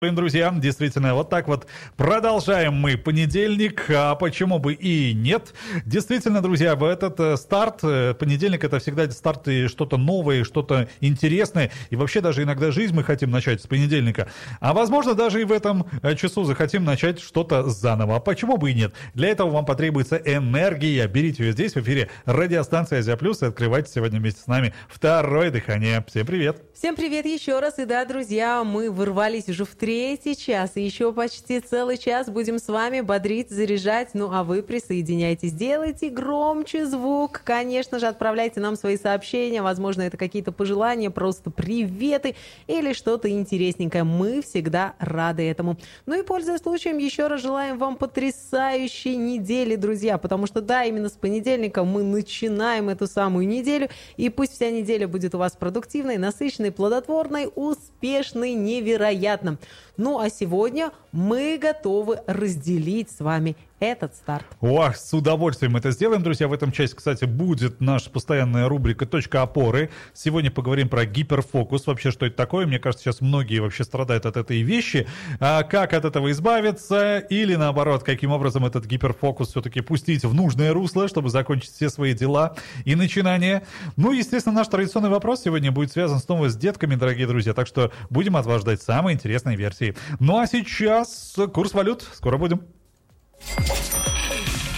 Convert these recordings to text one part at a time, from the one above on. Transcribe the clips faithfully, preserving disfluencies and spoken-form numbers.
Друзья, действительно, вот так вот продолжаем мы понедельник, а почему бы и нет. Действительно, друзья, в этот старт, понедельник это всегда старт и что-то новое, что-то интересное, и вообще даже иногда жизнь мы хотим начать с понедельника, а возможно даже и в этом часу захотим начать что-то заново, а почему бы и нет. Для этого вам потребуется энергия, берите ее здесь в эфире радиостанции Азия Плюс и открывайте сегодня вместе с нами второе дыхание. Всем привет! Всем привет еще раз, и да, друзья, мы ворвались уже в третий час, и еще почти целый час будем с вами бодрить, заряжать, ну а вы присоединяйтесь, делайте громче звук, конечно же, отправляйте нам свои сообщения, возможно, это какие-то пожелания, просто приветы или что-то интересненькое, мы всегда рады этому. Ну и, пользуясь случаем, еще раз желаем вам потрясающей недели, друзья, потому что, да, именно с понедельника мы начинаем эту самую неделю, и пусть вся неделя будет у вас продуктивной, насыщенной, плодотворной, успешной, невероятно. Ну а сегодня мы готовы разделить с вами этот старт. Ох, с удовольствием это сделаем, друзья. В этом часе, кстати, будет наша постоянная рубрика «Точка опоры». Сегодня поговорим про гиперфокус. Вообще, что это такое? Мне кажется, сейчас многие вообще страдают от этой вещи. А как от этого избавиться? Или, наоборот, каким образом этот гиперфокус все-таки пустить в нужное русло, чтобы закончить все свои дела и начинания? Ну, естественно, наш традиционный вопрос сегодня будет связан снова с детками, дорогие друзья. Так что будем от вас ждать самые интересные версии. Ну, а сейчас курс валют. Скоро будем.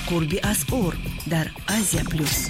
Курби асъор дар Азия Плюс.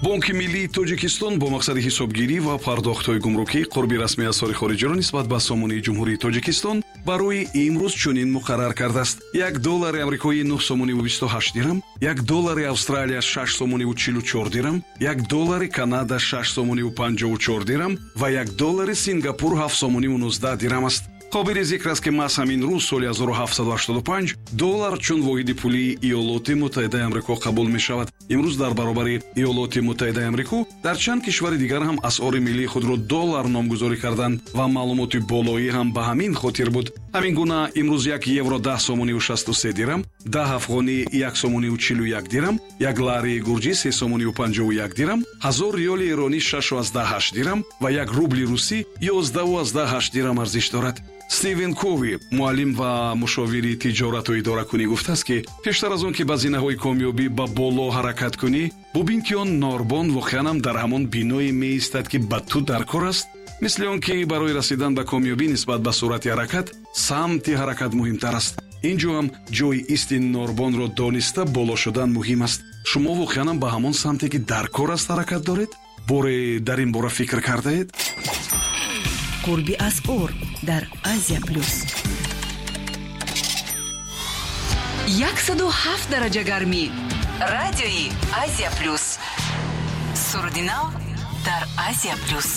Бонки миллии Тоҷикистон бо мақсади ҳисобгирӣ ва пардохтҳои гумрукӣ қурби расмии асъори хориҷиро нисбат ба сомонии Ҷумҳурии Тоҷикистон барои имрӯз чунин муқаррар кардааст. Як доллари амрикоӣ нӯҳ сомониву бисту ҳашт дирам, як доллари Австралия шаш сомониву чилу чор дирам, як доллари Канада шаш сомониву панҷоҳу чор дирам ва як доллари Сингапур ҳафт сомониву нуздаҳ дирам аст. Қобили зикр аст, ки маҳз ҳамин рӯз соли ҳазору ҳафтсаду ҳаштоду панҷ доллар чун воҳиди пулии Иёлоти Муттаҳидаи Амрико қабул мешавад. Имрӯз дар баробари Иёлоти Муттаҳидаи Амрико дар чанд кишвари дигар ҳам асъори миллии худро доллар номгузорӣ карданд ва маълумоти болоӣ ҳам ба ҳамин хотир буд. Ҳамин гуна имрӯз як евро даҳ сомониву шасту се дирам, даҳ афғонӣ як сомониву чилу як дирам, як ларии гурҷӣ се сомониву панҷоҳу як дирам, ҳазор риёли эронӣ шашу аздаҳ ҳашт дирам ва як рубли русӣ ёздаҳу аздаҳ ҳашт дирам арзиш дорад. Стивен Кови, муаллим ва мушовири тиҷорату идоракунӣ, гуфтааст, ки пештар аз он ки ба зинаҳои комёбӣ ба боло ҳаракат кунӣ, бубин, ки он норбон воқеан ҳам дар ҳамон биное меистад, ки ба ту дар кор аст. Мисли он ки барои расидан ба комёбӣ нисбат ба суръати ҳаракат, самти ҳаракат муҳимтар аст. Ин ҷо ҳам ҷои исти норбонро дониста боло шудан муҳим аст. Шумо воқеан ҳам ба ҳамон самте, ки дар кор аст, ҳаракат доред? Боре дар ин бора фикр кардаед? Курби асъор дар Азия Плюс. Яксаду ҳафт дараҷа гармӣ. Радиои Азия Плюс. Суруди нав дар Азия Плюс.